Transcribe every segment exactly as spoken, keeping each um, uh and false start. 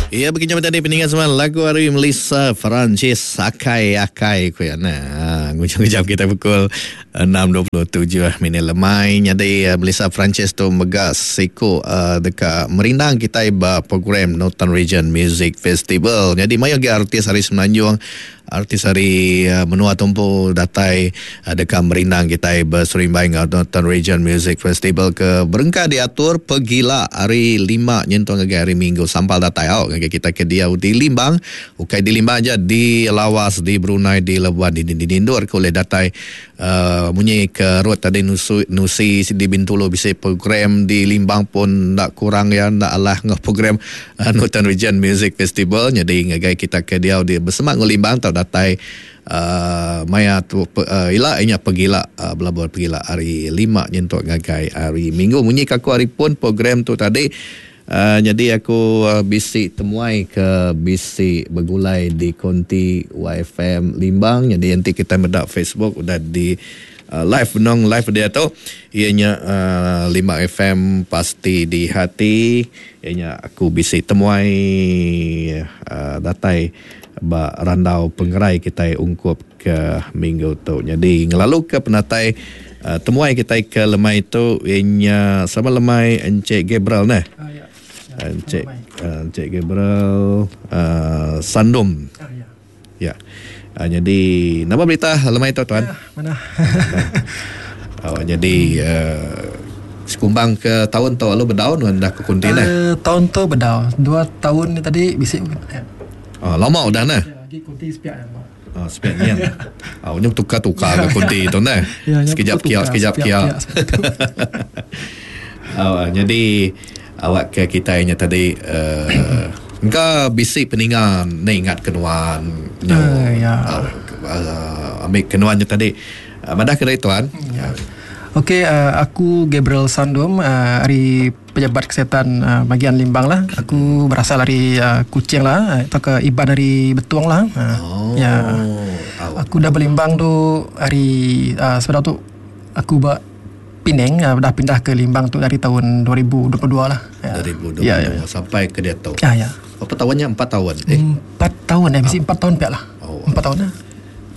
Ya, begini tadi peninggal semua lagu hari Melissa Francis Akai Akai ku ya nah. Ngujung-ujung kita pukul enam dua puluh tujuh minit lemai. Jadi Melissa Francis tu mega siku uh, dekat merindang kita ba program Northern Region Music Festival. Jadi mayo ge artis hari Semenanjung, artis hari uh, menua tumpu datai uh, dekat merindang kita berserimbai dengan Northern Region Music Festival ke berengkah diatur pegila hari lima nyentuh ngagai hari Minggu sampal datai au ngagai kita ke dia di Limbang, ukai di Limbang aja, di Lawas, di Brunei, di Labuan, di di Dindur ke oleh datai uh, munyi ke road tadi nusu, nusi di Bintulu bisa program di Limbang pun nak kurang ya nak alah ngah program uh, Northern Region Music Festival. Jadi ngagai kita ke dia di bersemak ngah Limbang tau datai uh, maya tu uh, ila inya pegila uh, belabur pegila hari lima nyentuk ngagai hari Minggu munyi kaku hari pun program tu tadi. Uh, jadi aku uh, bisi temuai ke bisi bergulai di konti Y F M Limbang. Jadi nanti kita medak Facebook udah di uh, live nong live dia tu ianya uh, Limbang F M pasti di hati. Ianya aku bisi temuai uh, datai ba randau pengerai kita ungkup ke minggu tu. Jadi ngelalu ke penatai uh, temuai kita ke lemai tu ianya sama lemai Encik Gabriel nah. Ah, ya. Encik uh, Encik Gabriel uh, Sandum. Ah, ya. Ya. Uh, jadi nama berita lemai tu tuan? Ya, mana? Oh, jadi uh, sekumbang ke tahun tu lalu berdaun kan dah ke kunti nah. Uh, tahun tu berdaun. Dua tahun ni tadi bisik. Ya. Oh, lama udah nah. Ya, lagi kunti sepiak yang. Oh, sepiak ni. Oh, ni tukar-tukar ke kunti tu nah. Ya, sekejap kia, sekejap kia. Oh, jadi awak ke kita nya tadi uh, engka bisi peningan ni ingat kenuan nyo. Uh, ya. Uh, uh, ambil kenuannya tadi. Uh, madah ke dari tuan? Ya. Okey, uh, aku Gabriel Sandum uh, dari pejabat kesihatan uh, bagian Limbang lah. Aku berasal dari uh, Kuching lah, atau ke Iban dari Betuang lah. Uh, oh. Ya. Aku dah berlimbang tu hari uh, sebenarnya tu aku buat Penang, uh, dah pindah ke Limbang tu dari tahun dua ribu dua puluh dua lah. Ya. dua ribu dua puluh dua ya, ya. Sampai ke dia tu. Ya, ya. Berapa tahunnya? Empat tahun. Eh? Empat tahun eh, mesti empat tahun pihak lah. Oh. Empat tahun lah.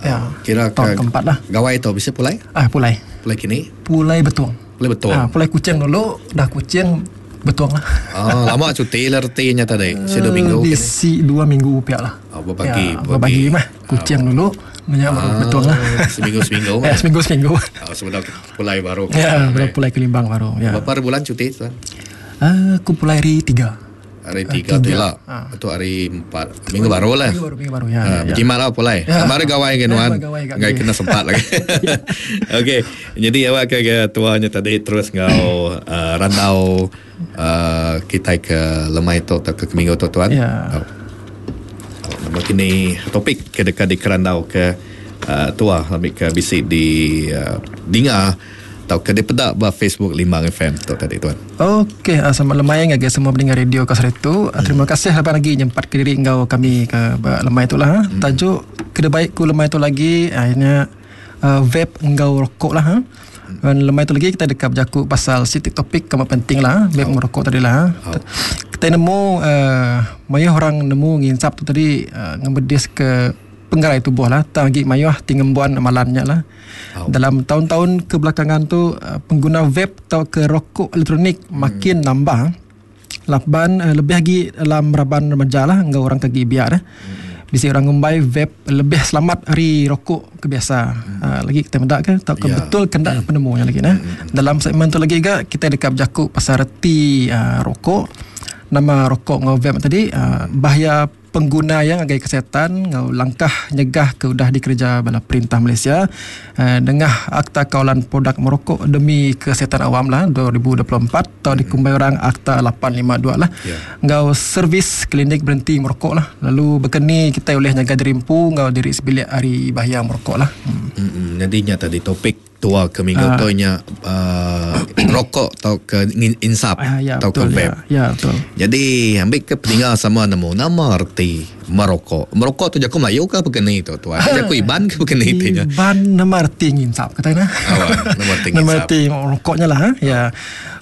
Ya. Kira tahun ke, keempat lah. Gawai tu bisa pulai? Ah, pulai. Pulai kini? Pulai Betuang. Pulai Betuang. Ah, pulai Kuching dulu, dah Kuching Betuang lah. Oh, lama cuti lah artinya tadi. Si dua minggu. Bisi dua minggu pihak lah. Oh, berbagi, ya, berbagi mah. Kuching dulu, banyak baru ah, Betuang lah. Seminggu-seminggu mah. Ya, seminggu-seminggu. Oh, sebentar pulai baru. Ya, baru pulai ke Limbang baru. Ya. Berapa bulan cuti tuan? Ah, aku pulai hari tiga. Hari tiga tu lah. Atau hari empat. Minggu baru lah. Minggu baru, minggu baru. Ya, ha, ya. Berjimat lah pulai. Ya. Baru gawai ke nuan. Ngai kena sempat lagi. Okey. Jadi awak ke, ke tuanya tadi terus ngau uh, randau uh, kita ke lemai tu atau ke minggu tu tuan. Ya. Oh. Oh, nama kini topik ke dekat di kerandau ke uh, tua ambil ke bisik di uh, dinga atau ke dipedak ba Facebook Limbang F M tu tadi tuan. Okey, uh, selamat lemai ngagai semua pendengar radio Kasar itu. Hmm. Terima kasih lepas lagi nyempat ke diri engkau kami ke lemai itulah. Hmm. Tajuk kena baik ku lemai tu lagi akhirnya uh, vape engkau rokok lah. Ha? Dan lemai tu lagi kita dekat berjakut pasal sitik topik kamu penting lah, vape oh. merokok tadi lah. Oh. Kita nemu uh, mayuh orang nemu nginsap tu tadi uh, ngemedis ke penggerai tubuh lah, tak lagi mayuh tingembuan amalannya lah. Oh. Dalam tahun-tahun kebelakangan tu pengguna vape atau ke rokok elektronik hmm. makin nambah. Laban lebih lagi dalam raban remaja lah, enggak orang kaki biar eh. Hmm. Bisa orang ngumbai vape lebih selamat dari rokok kebiasa. Hmm. Uh, lagi kita mendak ke tak ke yeah. betul kendak hmm. penemunya lagi nah. Hmm. Dalam segmen tu lagi juga kita dekat berjakut pasal reti uh, rokok. Nama rokok ngau vape tadi uh, bahaya pengguna yang agai kesihatan ngau langkah nyegah ke udah dikerja bala perintah Malaysia uh, dengah Akta Kawalan Produk Merokok Demi Kesihatan Awam lah dua ribu dua puluh empat atau dikumbai orang Akta lapan lima dua lah. Yeah. Ngau servis klinik berhenti merokok lah. Lalu berkeni kita oleh nyaga diri empu ngau diri sebilik hari bahaya merokok lah. Hmm. Hmm, jadinya tadi topik tua ke minggu uh, tu nya uh, rokok atau ke insap uh, ya, atau betul, ke vape. Ya, ya betul. Jadi ambil ke peninggal sama nemu nama erti reti merokok. Merokok tu jaku Melayu ke begini tu tuan? Jaku Iban ke begini tu nya? Iban nama reti nginsap kata na. Oh, nama reti nginsap. Nama reti rokoknya lah ya.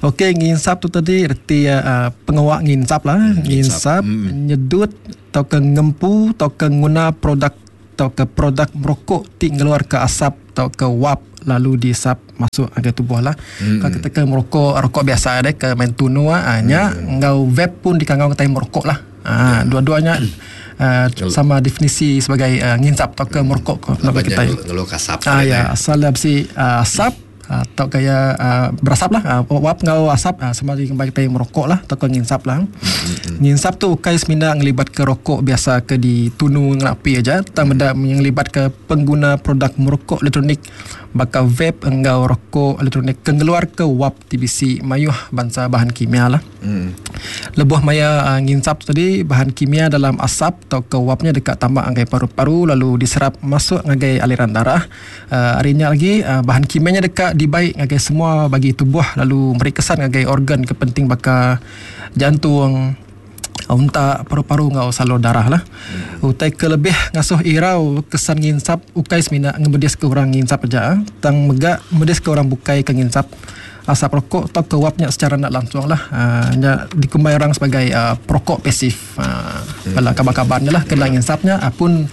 Okey, nginsap tu tadi reti uh, pengawak nginsap lah, hmm, nginsap, hmm. nyedut atau ke ngempu atau ke nguna produk atau ke produk merokok ti ngeluar ke asap atau ke wap lalu diisap masuk ke tubuh lah. Hmm. Kalau kita ke merokok rokok biasa deh ke main tunu ah nya hmm. ngau vape pun dikangau kita merokok lah. Ah, dua-duanya uh, sama definisi sebagai uh, nginsap atau ke merokok kalau kita ngeluar asap. Ah ya, asal besi uh, asap atau kaya uh, berasap lah, uh, wap ngau asap uh, sama dengan kita merokok lah atau ke nginsap lah. Mm-hmm. Nginsap tu ukai semina ngelibat ke rokok biasa ke ditunu ngelapi aja, tang benda yang ngelibat ke pengguna produk merokok elektronik bakal vape enggau rokok elektronik ke ngeluar ke wap T B C mayuh bangsa bahan kimia lah. Mm. Lebuh maya uh, nginsap tadi bahan kimia dalam asap atau ke wapnya dekat tambak anggai paru-paru lalu diserap masuk ngagai aliran darah. Uh, harinya lagi uh, bahan kimianya dekat dibaik ngagai semua bagi tubuh lalu beri kesan ngagai organ kepenting bakal jantung, untak, paru-paru ngau salur darah lah. Hmm. Utai ke lebih ngasuh irau kesan nginsap ukai semina ngemedis ke orang nginsap aja, tang mega medis ke orang bukai ke nginsap asap rokok atau ke wapnya secara nak langsung lah. Uh, nya dikumbai orang sebagai uh, perokok pasif. Uh, hmm. Kalau kabar-kabarnya lah kena nginsapnya apun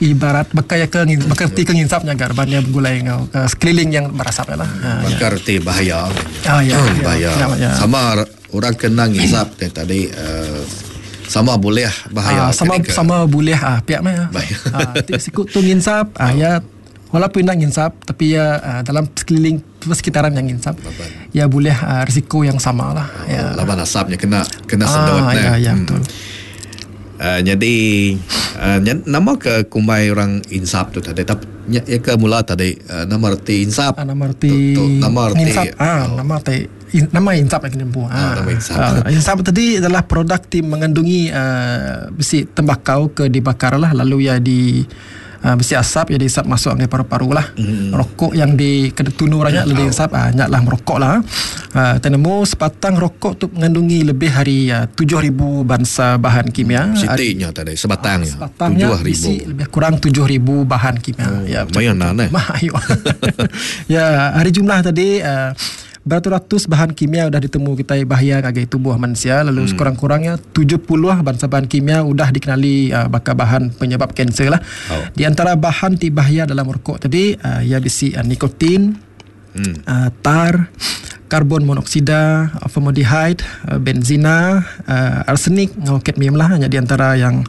ibarat bakal ke bakal ti ke nginsapnya garbannya bergulai ngau uh, sekeliling yang berasap lah. Bakal uh, ti bahaya. Ah ya, hmm, bahaya. Ya, ya. Sama orang kena ngisap tadi uh, sama boleh bahaya. Ah, sama sama boleh ah pihak mah. Ah sikut tu nginsap ah ya walaupun nak nginsap tapi ya uh, dalam sekeliling persekitaran yang nginsap ya boleh uh, risiko yang sama lah. Oh, ya. Laban asapnya kena kena sedot ah, nah. Ya, ya hmm. Betul. Uh, jadi uh, nama ke kumbai orang insap tu tadi tapi ya ke mula tadi uh, nama reti insap. Ah, nama reti tu, tu, nama reti insap. Ah, oh. Nama reti in, nama insap lagi nempu. Ah, nama insap. Ah, insap tadi adalah produk ti mengandungi uh, besi tembakau ke dibakar lah lalu ya di uh, besi asap ya diisap masuk ke paru-paru lah. Mm. Rokok yang di tunu orangnya mm. lebih insap ah uh, nyaklah merokok lah. Uh, tenemu sepatang rokok tu mengandungi lebih hari uh, tujuh ribu bangsa bahan kimia. Sitinya tadi sebatangnya. Uh, sebatangnya isi lebih kurang tujuh ribu bahan kimia. Oh, ya, lumayan lah eh. Mayo. Ya, hari jumlah tadi uh, beratus-ratus bahan kimia sudah ditemu kita bahaya ngagai tubuh manusia lalu hmm. sekurang-kurangnya tujuh puluh bangsa bahan kimia sudah dikenali uh, bakal bahan penyebab kanser lah. Oh. Di antara bahan ti bahaya dalam rokok tadi uh, ia bisi uh, nikotin, hmm. uh, tar, karbon monoksida, formaldehyde, uh, benzina, uh, arsenik, ngau kadmium lah hanya di antara yang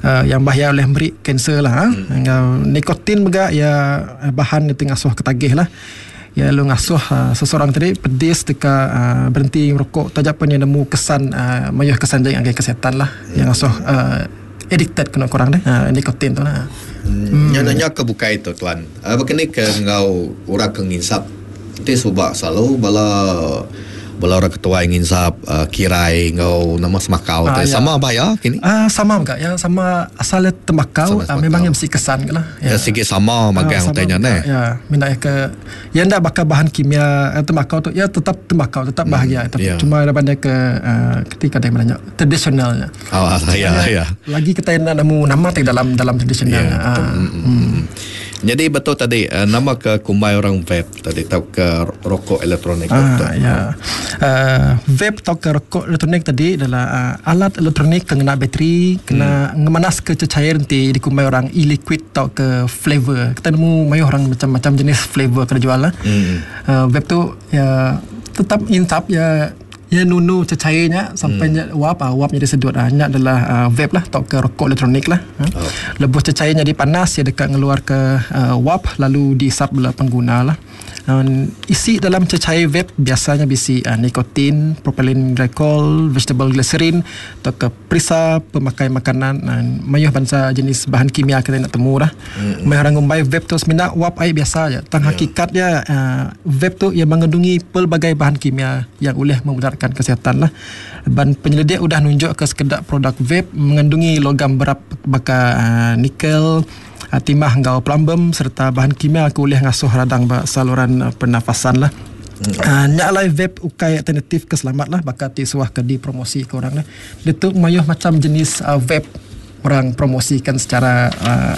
uh, yang bahaya oleh beri kanser lah. Hmm. Ngau nikotin juga ya bahan yang ngasuh ketagih lah. Ya lu ngasuh uh, seseorang tadi pedis deka uh, berhenti merokok tajak pun yang nemu kesan uh, mayuh kesan jang agai kesihatan lah. Hmm. Yang ngasuh uh, addicted kena kurang deh uh, nikotin tu lah. Hmm. Yang nanya ke bukai tu tuan. Uh, begini ke ngau orang ke nginsap ti subak selalu bala bala orang ketua yang nginsap uh, kirai ngau nama semakau ah, tu ya. Sama bahaya kini? Ah sama enggak ya sama asal tembakau ah, memang yang mesti kesan ke lah. Ya, ya sikit sama magang ah, utainya neh. Ya, minat ke ya ndak bakal bahan kimia tembakau tu ya tetap tembakau tetap bahagia tapi ya. Cuma ada ke uh, ketika dia menanya tradisionalnya. Oh, ya ya. Lagi kita nak nemu nama tak dalam dalam tradisionalnya. Ya, ah. Mm, hmm. Jadi betul tadi uh, nama ke kumbai orang vape tadi atau ke rokok elektronik. Ah, ya. Uh, vape atau ke rokok elektronik tadi adalah uh, alat elektronik kena bateri, kena hmm. ngemanas ke cecair nanti dikumbai orang e-liquid atau ke flavor. Kita nemu mayuh orang macam-macam jenis flavor kena jual lah. Hmm. Uh, vape tu ya tetap insap ya ya nunu cecairnya sampai hmm. wap ah wapnya disedut ah nya adalah uh, vape lah atau ke rokok elektronik lah. Oh. Lebuh cecairnya dipanas ya dekat ngeluar ke uh, wap lalu diisap oleh pengguna lah. Um, isi dalam cecair vape biasanya bisi uh, nikotin, propylene glycol, vegetable glycerin atau ke perisa pemakai makanan uh, mayuh bangsa jenis bahan kimia kita nak temu lah. Hmm. Mayuh orang ngumbai vape tu semina wap air biasa je. Tang yeah. hakikatnya uh, vape tu ia mengandungi pelbagai bahan kimia yang boleh memudaratkan kesihatan lah. Dan penyelidik sudah nunjuk ke sekedak produk vape mengandungi logam berat baka uh, nikel, uh, timah ngau plumbum serta bahan kimia ke boleh ngasuh radang ba saluran uh, pernafasan lah. Hmm. Uh, nyak lai vape ukai alternatif keselamat lah bakal ti suah ke dipromosi ke orang lah. Dia tu mayuh macam jenis uh, vape. orang promosikan secara uh,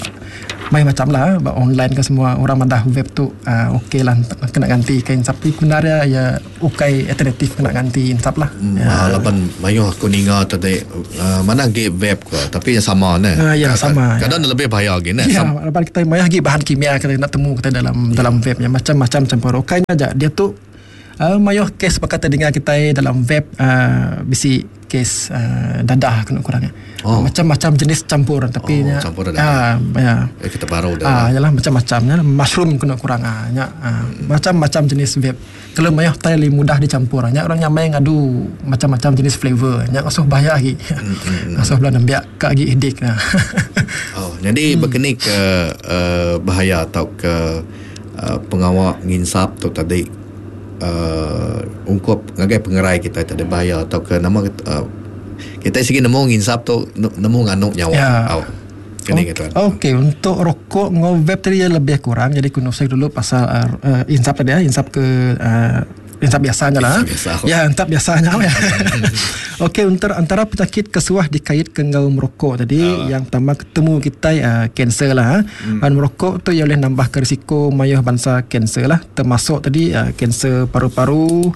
main macam lah online ke semua orang madah vape tu uh, okey lah kena ganti ke insap tapi sebenarnya ya ukai alternatif kena ganti insap lah. Hmm, ya. Laban mayuh aku ninga tadi uh, mana ge vape ko tapi yang sama ne. Uh, ya sama. Kadang ya. Lebih bahaya lagi ne. Ya, laban kita mayuh lagi bahan kimia kita nak temu kita dalam ya. Dalam vape nya macam-macam campur. Okainya aja dia tu uh, mayuh kes bakal terdengar kita dalam vape uh, bisi kes uh, dadah kena kurangnya. Oh. Macam-macam jenis campur tapi oh, campur dadah. Ah ya. Eh, kita baru dah. Ah yalah macam-macamnya mushroom kena kurang ah nya ah, hmm. Macam-macam jenis vape. Kalau mayuh tai lebih mudah dicampur. Nya orang nyamai ngadu macam-macam jenis flavor. Nya asuh bahaya lagi. Hmm. Asuh belah nembiak ka lagi edik nah. Oh, jadi hmm. berkeni ke uh, bahaya atau ke uh, pengawak nginsap tu tadi Uh, ungkup ngagai pengerai kita tak ada bahaya atau ke nama uh, kita segi nemu nginsap tu nemu nganuk nyawa. Ya. Oh. Kini okay. Okey, untuk rokok ngau vape tadi lebih kurang. Jadi kuno saya dulu pasal uh, uh, insap tadi ya, insap ke uh, insap biasanya lah. Biasa. Ya, insap biasanya ya. Okey, untuk antara penyakit kesuah dikait ke ngau merokok tadi, uh. yang pertama ketemu kita kanser uh, lah. Hmm. Dan merokok tu ia boleh nambah ke risiko mayuh bangsa kanser lah, termasuk tadi kanser uh, paru-paru,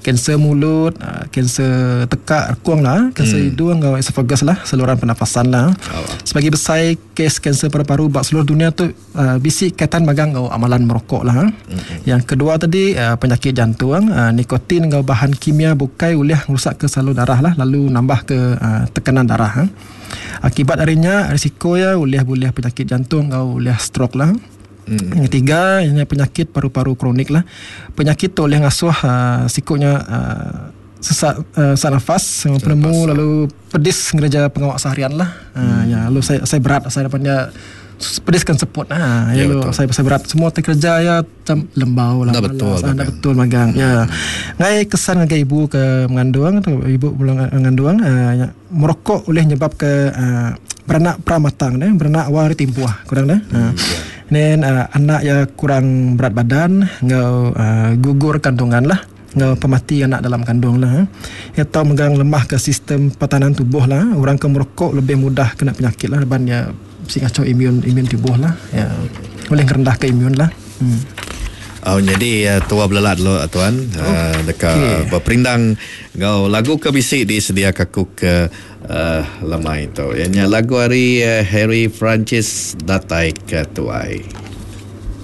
kanser mulut, kanser tekak rekung lah, kanser hmm. hidung atau esophagus lah, saluran pernafasan lah. Oh. Sebagai besar kes kanser paru-paru bak seluruh dunia tu uh, bisi kaitan magang ngau amalan merokok lah. Hmm. Yang kedua tadi uh, penyakit jantung, uh, nikotin ngau bahan kimia bukai boleh merosak ke salur darah lah, lalu nambah ke uh, tekanan darah. Akibat darinya risiko ya boleh-boleh penyakit jantung ngau boleh stroke lah. Hmm. Yang ketiga ini penyakit paru-paru kronik lah. Penyakit tu boleh ngasuh uh, sikutnya uh, sesak uh, sesak nafas, penemu lalu pedis ngereja pengawak seharian lah. Hmm. Uh, ya lalu saya saya berat saya dapatnya pedis kan seput. Ha, ya, ya, lalu saya saya berat semua terkerja ya macam lembau lah. Dah betul. Dah betul magang. Hmm. Ya. Ngai kesan ngagai ibu ke mengandung atau ibu belum mengandung uh, ya, merokok boleh nyebab ke uh, beranak pramatang ne, beranak awal timpuah kurang dah. Hmm, uh. Ya. Then uh, anak ya kurang berat badan, ngau uh, gugur kandungan lah, ngau pemati anak dalam kandung lah. Ya tau megang lemah ke sistem pertahanan tubuh lah. Orang ke merokok lebih mudah kena penyakit lah, ban ya si kacau imun imun tubuh lah. Ya boleh rendah ke imun lah. Hmm. Oh, jadi uh, tua belelat lo tuan Oh, uh, dekat okay. Berperindang ngau lagu ke bisi disediakan aku ke uh, lemai tu. Yang lagu hari uh, Harry Francis datai ke tuai.